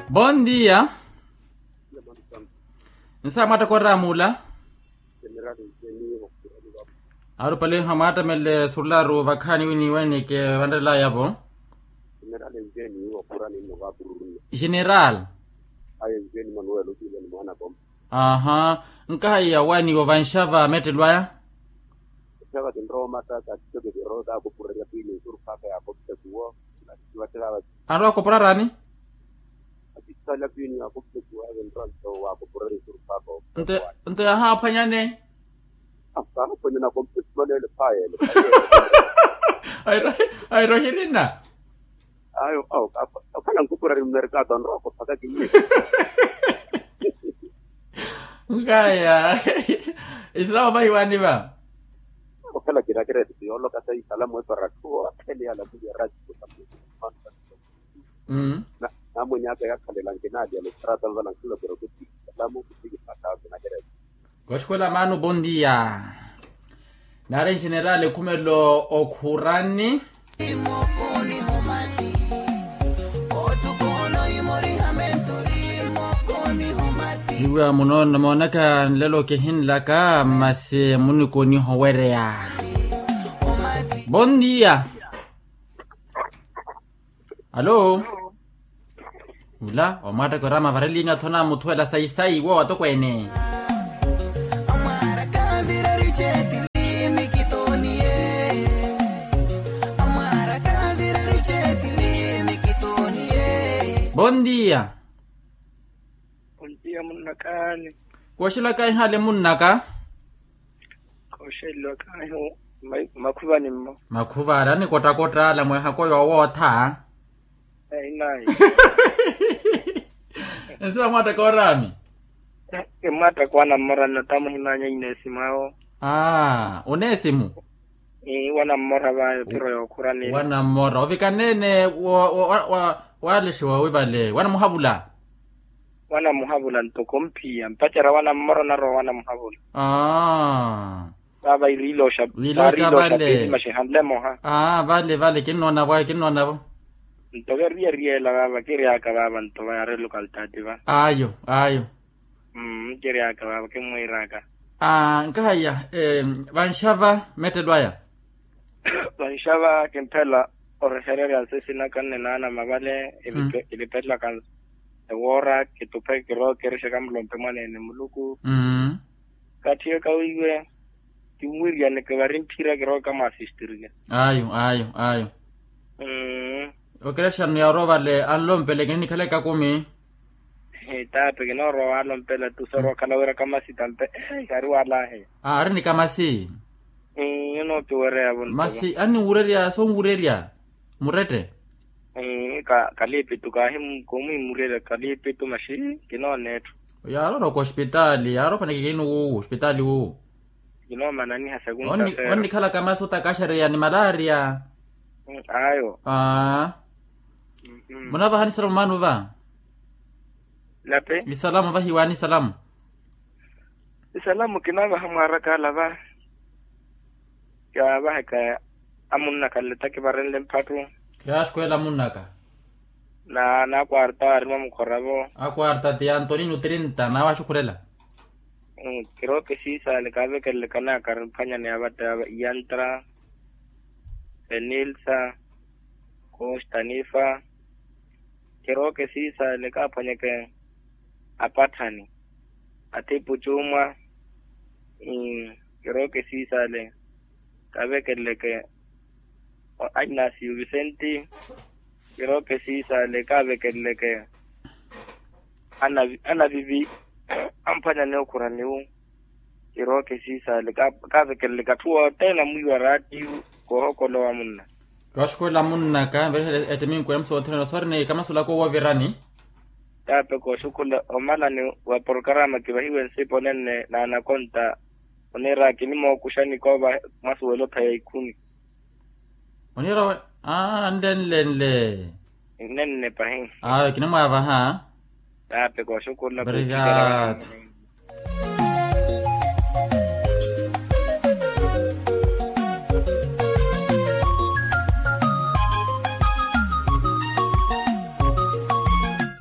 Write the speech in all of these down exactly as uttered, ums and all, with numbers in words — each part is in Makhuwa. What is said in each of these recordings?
Bondia. Nsa mwatta koramula. Arupale hamwattamelele surularu vakhaani winiwenike vanrelaya-vo. General. Aha. Nkahaiya waniwo vanxava mettelo aya. Anrowa akopora raani? Nto yahaaphwanyane. Airo hirina. Ayo okhala nkupura ri mmerikato anrowa kophaka kiye. Nkaya. Islamu vahiwani va? Okhala kinakireeti yooloka sa isalamu epara atthu othene yalamuliya rati. Namwenyaka yakhalela nkinaaliya nittharata nvala nkhalokero kuti isalamu kuti kipataawe kinakireeti. Koxikola mano bondia. Nari nxenerali khumelo okhurani. Iwa muno namoonaka nlelo kihinlaka masi munikoniho wereya. Bondia. Alo. Ula omwatteke orama varelinya thona muthuwela sayisayi wo atokweene. Bondia. Bondia munnakaani. Kooxelaka ehale munnaka. Kooxeliwa kaahi. Makhuvani mmo. Makhuvani anikottakotta ala mweehako yoowootha. Einayi. Ensi vamwattaka oraami. Kimwattaka wanammora nnattamu hinanya inesimu awo. Aa oneesimu. Wanammora vayo piro yookhura nili. Wanammora ovikanene. Walexiwa wivale wanamuhavula. Wanamuhavula ntoko mphiya mpacerya wanammoro narowa wanamuhavula. Aa. Vava iriiloxa. Pili maxihanle moha. Aa vale vale kinnoonavo ayo kinnoonavo. Nto keriyeriyela vava kiryaka vava nto vayari lokaltati va. Ayo ayo. Kiryaka vava kimwiiraka. Aa nkahaiya. Vanxava mettelo aya. Vanxava kimphela orehererya nsisinaka nne naana mavale. Ilipelaka ewoora kituphe kirookerixeka mulompe mwaneene muluku. Katthi yo kawiiwe. Kimwiriyane kivari mphira kirooka mwaasistirike. Ayo ayo ayo. Okerexano yarowa vale anlompele kinikhala ekakumi. Taape kinoorowa waalompela tu sorowa okhala wira kamasi tampe. Kari walahe. Ari ni kamasi. Onoopiwereya vo nto masi anniwurerya sonwurerya. Murette. Kaliipitu kaahi koomwiimurerya kaliipitu maxi. Kinooneetthu. Yaarowa okhosipitaali yaarowa ofaneke kinu wuwu osipitaali wuwu. Kinoomananiha sekunta feero onnikhalaka masi otakaxereya ni malaria. Ayo. Munavahani salamu maano va? Lape isalamu vahiwaani isalamu. Isalamu kinavaha mwaaraka ala va. Kiyaavahaka amunnaka nletta kivarenle mphattu. Kiyaaxukhurela amunnaka. Na nakwarta aari mwamukhoravo. Akwarta ti antonino trinta nawaxukhurela. Kirooke siisale kaavekeleleke anakari mphwanyani avatta ava iyantra, fenilsa, kostanifa. Kirooke siisale kaaphwanyeke apatthani, athipu cuumwa. Kirooke siisale kaavekeleleke. Ainasiyu visenti. Kirooke siisale kaavekeleleke. Anavivi amphwanyani okhuraniwu. Kirooke siisale kaavekeleleke atthu othene amwiiwa raatiyu. Koohokolowa munna. Kooxukhurela munnaka nverihela ettiminku ya musoothereno soori ni kamasulaka owoovirani. Taape kooxukhurela omalani wa porokarama kivahiwe nsipo nenne naanakonta. Oniira kinimookuxani koova mwasuwela opheya ikhumi. Oniira we aa nlenlenle. Nnenne pahi. Awe kinimwaavaha. Taape kooxukhurela. Obrigado.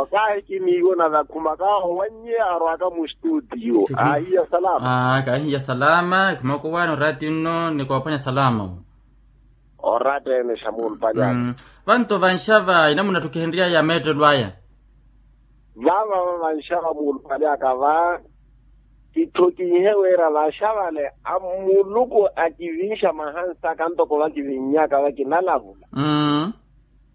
Okahi kiniiwo na vakhumaka owannye arwaka mu studio. Ahiya salama. Kahiya salama khumaka owaani orati nno ni koophwanya salama. Orati ene xa muulupali aka. Vanto vanxava inamuna etthu kihenry'aya meettelo aya. Vava vanxava muulupali aka va kithokinhe wira vaxavale a muluku akivinxa mahansa aka ntoko vakivinnyaka vakinalavu.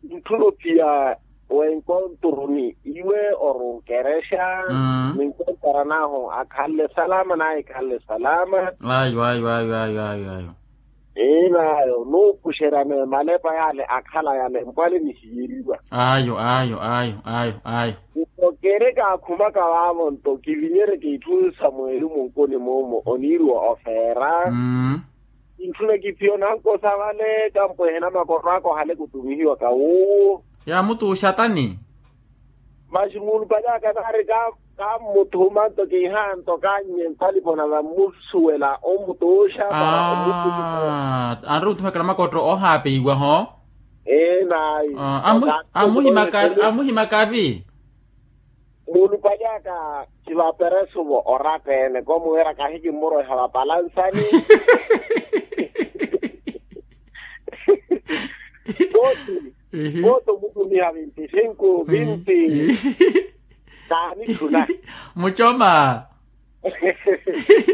Ntthuno pia Wenkonturuni iwe orunkerexa. Ninkontara nahu akhanle salama naye khanle salama. Ayo ayo ayo ayo ayo ayo. Enayo nuupuxeryane malepa yale akhala yale mpwale nihiyeriwa. Ayo ayo ayo ayo ayo. Nto keereke akhumaka vaavo nto kivinyereke itthu samweli munkuni mumu oniiriwa ofeera. Ntthu nakiphiya onankosa vale kampwehena makorwa aka ohale kutumihiwaka wuwo. Yaamutuuxa tani? Masi muulupale aka naari kammuthuma nto kiiha nto kannye ntalipona vammusuwela ommutuuxa para ommutuuxa. Anri omuthumekela makotto ohaapeiwa ho. Ee nayi. Amuhimaka vi? Muulupale aka khivaperesu vo oratta-ene komuwera kahi kimmuroiha vapalansani. Koti koti omutumiha vinti sinku vinti. Kaanitthuna. Mucoma.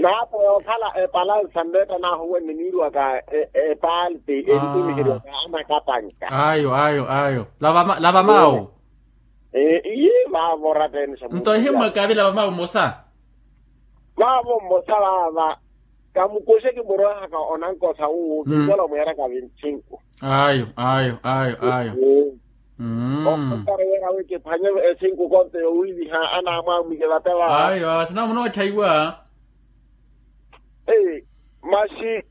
Naapo yookhala epalansa nneetta nahu wenni niiriwaka epalti entumiheriwaka anakapanka. Ayo ayo ayo. Lava mawu. Iye vaavo oratta-ene xa nto ehimmwaka vila vamaavu mmosa. Vaavo mmosa vaava. Kamukuxe kimurohaka onankosa wuwo kinkola omweeraka vintsinku. Ayo ayo ayo ayo. Okontara weera wi kiphwanye esinku konto yowiiviha anaamwamwike vate vaava. Ayo ayo sinamunootthaiwa. Masi